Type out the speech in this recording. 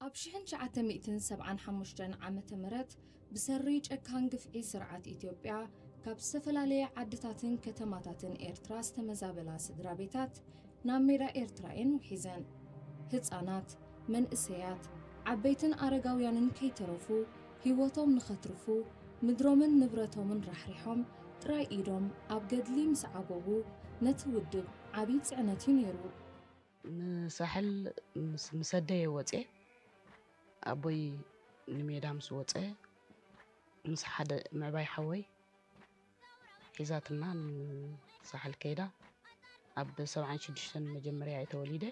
ኣብ ሽሕን ትሽዓተ ሚእትን ሰብዓን ሓሙሽተን ዓመተ ምህረት ብሰሪ ጨካን ግፍዒ ስርዓት ኢትዮጵያ ካብ ዝተፈላለየ ዓድታትን ከተማታትን ኤርትራ ዝተመዛበላ ስድራ ቤታት ናብ ሜዳ ኤርትራ እየን ውሒዘን። ህጻናት፣ መንእሰያት፣ ዓበይትን ኣረጋውያንን ከይተረፉ ህይወቶም ንኸትርፉ ምድሮምን ንብረቶምን ራሕሪሖም ጥራይ ኢዶም ኣብ ገድሊ ምስ ዓጎቡ ነቲ ውድብ ዓብዪ ጽዕነት እዩ ነይሩ። ንሳሕል ምስ ኣደየ ወፅየ ኣቦይ ንሜዳ ምስ ወፀ ምስ ሓደ ምዕባይ ሓወይ ሒዛትና ንሳሕል ከይዳ ኣብ ሰብዓን ሽዱሽተን መጀመርያ እየ ተወሊደ።